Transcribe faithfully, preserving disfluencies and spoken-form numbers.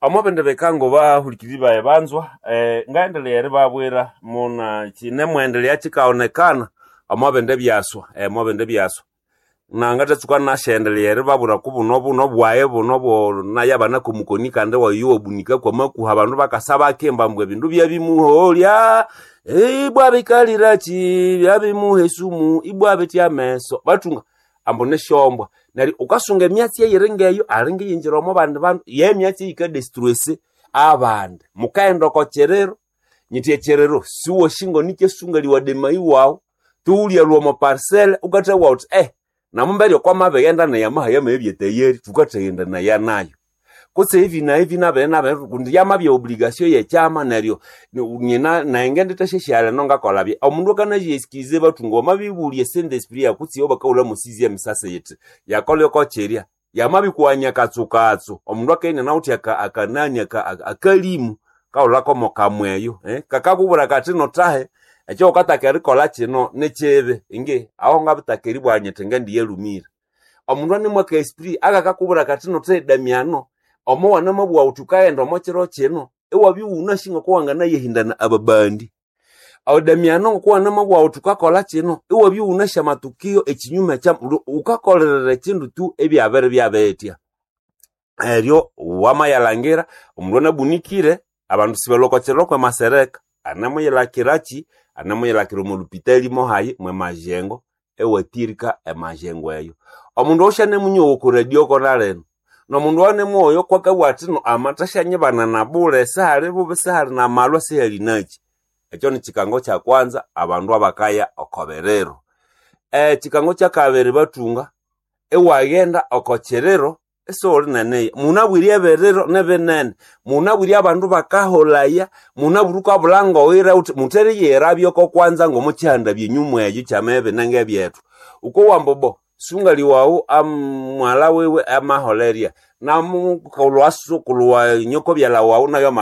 Omo bindi bikango bahulikiriri bayi banzwa eh, ngaendelea eribabwira muna kinemwendelea kikaonekana omo bindi byaswa eh, omo bindi byaswa na ngatatsuka nasyendelea eribabwira ku buno buno bwayi buno bo nayabana komukoni kandi wayo wabunika kwamakuha abandu bakasa bakimba mbwe ebindu byabimuholya ibwa bikaliraki byabimuha esumu ibwa bitya ameso bathunga ambu nisyombwa neryo ukasunga emyatsi eyiri ngeyo alinga iyingira omo bandi bandu yemyatsi eyikadestruese abandi mukaghenda oko kiriro nyithi ekiriro siwoshingo nikyesunga demayi wawu tuwulyalwa omo parcel ukathabugha wuthi eh namumbere okwamabighenda neyamaha yamabya tayari thukathagenda naya nayo kutse hivi na hivi nabiri nabiri kundi yamabya obligation yekyama neryo nyina naye ngendithasyasyalha nongakolha bya omundu akanayesikize bathunga wamabibulya sente esprit yakutse iyo bakahulha musizi emisasi yithi yakolha okokyirya yamabikughanya katsukatsu omundu akaghenda nawuthi aka- akanani aka- aka- akalimu kahulhakomo kamweyo eh? kakakubwira kathi nothahe ekyo wukataka erikolha kino nikibi ingi aho ngabitaka eribugha nyithi ngendiyalhumire omundu anemwaka aka esprit akakakubwira kathi nothahe damiano omo wanamabugha wuthi wukaghenda omo kiro kino iwabya iwunasi ngoko wanganayehindana ababandi awo damiano ngoko wanamabugha wuthi wukakolha kino iwabya iwunasi amatukio ekinyume kya wukakolerera ekindu tu ebyabiri byabitya eryo wamayalhangira omundu anabunikire abandu sibalhwa oko kiriro kwemasereka anamuyilhakiraki anamuyilhakira omo lupitali mohayi mwemajengo ewatirika emajengo eyo omundu osyanamunyowa oko radio kona lino nomundu anemuwoyo kwakabugha athi no amathasyanyibanana bule sihali bubi sihali namalwa sihali naki ekyo nikikango kyakwanza abandu abakaya oko biriro ekikango kyakabiri bathunga iwaghenda oko kiriro isiwuli neneya munabwire ebiriro nibinene munabwire abandu bakaholaya munabwire wukabulha ngowira wuthi mutheriyirabya oko kwanza ngomukihanda byenyuma eyo kyamabya ngebyethu wukowa ambu bo sungali wawu amwalha wiwe amaholerya namukulwa sukulhu wa nyokobyalha wawu nayo ama